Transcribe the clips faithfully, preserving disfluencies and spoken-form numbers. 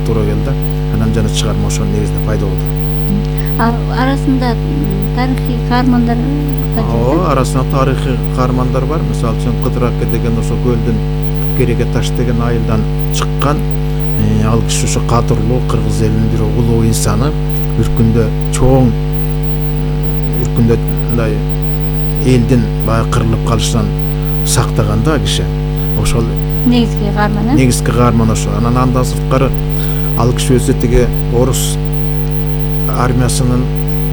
туура келди. Анан жана чыгарма ошонун негизинде пайда болду. Арасында тарыхый каармандар Ооба, арасында тарыхый каармандар бар. Мисалы үчүн Кыдыр аке деген ошо көлдүн Кереге таш деген айылдан чыккан. Ал киши ошо кадырлуу кыргыз элинин бир улуу инсаны. Үркүндө чоң үркүндө мындай элдин баягы кырылып калышынан сактаган да киши. Ошол негизги каарман. Негизги каарман ошо. Анан андан сырткары ал киши өзү тиги орус армиясынын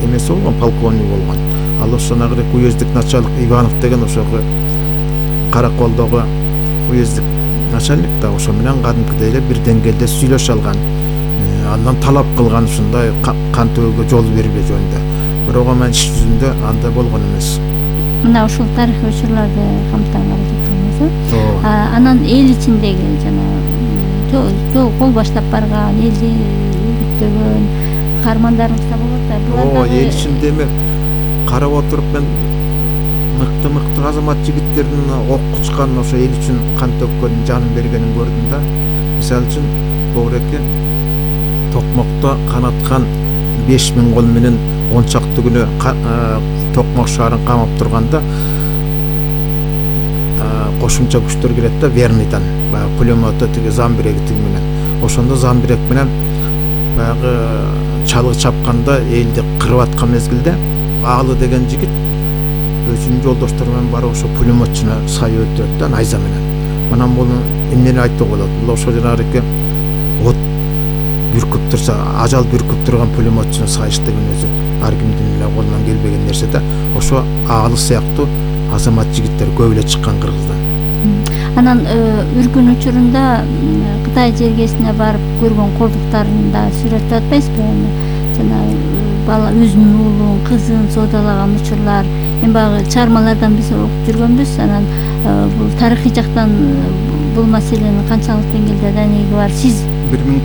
эмеси болгон, полковник болгон. Ал ошо нагыры уездик начальник Иванов деген ошого Караколдогу уездик начальник да ошо менен кадимкидей эле бир деңгээлде сүйлөшө алган. Андан талап кылган ушундай кан төгүүгө жол бербөө жөнүндө. Бирок анын иш жүзүндө андай болгон эмес. Мына ушул тарыхый учурларды камтыган аракет. Анан эл ичиндеги жана жол кол баштап барган, элди үгүттөгөн каармандарыбыз да болот да. Ооба, эл ичинде эми карап отуруп мен мыкты мыкты азамат жигиттердин ок кучкан, ошо эл үчүн кан төккөн, жанын бергенин көрдүм да. Мисалы үчүн Богуреке Токмокто канаткан беш миң кол менен он чакты күнү Токмок шаарын камап турганда кошумча күчтөр келет да Верныйдан, баягы пулемоту тиги Замбиреги тиги менен. Ошондо Замбирек менен баягы чалгы чапканда элди кырып аткан мезгилде Аалы деген жигит өзүнүн жолдоштору менен барып ошо пулемотчуну сай өлтүрөт да найза менен. Мына бул эмнени айтууга болот? Бул ошо жанагы от бүркүп турса, ажал бүркүп турган пулемотчуну сайыш деген өзү ар кимдин эле колунан келбеген нерсе да. Ошо Аалы сыяктуу азамат жигиттер көп эле чыккан Кыргыздан. Анан үркүн учурунда Кытай жергесине барып көргөн колдуктарын да сүрөттөп атпайсызбы? Жана бала өзүнүн уулун, кызын соодалаган учурлар, эми баягы чыгармалардан биз окуп жүргөнбүз. Анан бул тарыхый жактан бул маселенин канчалык деңгээлде данеги бар? Сиз бир миң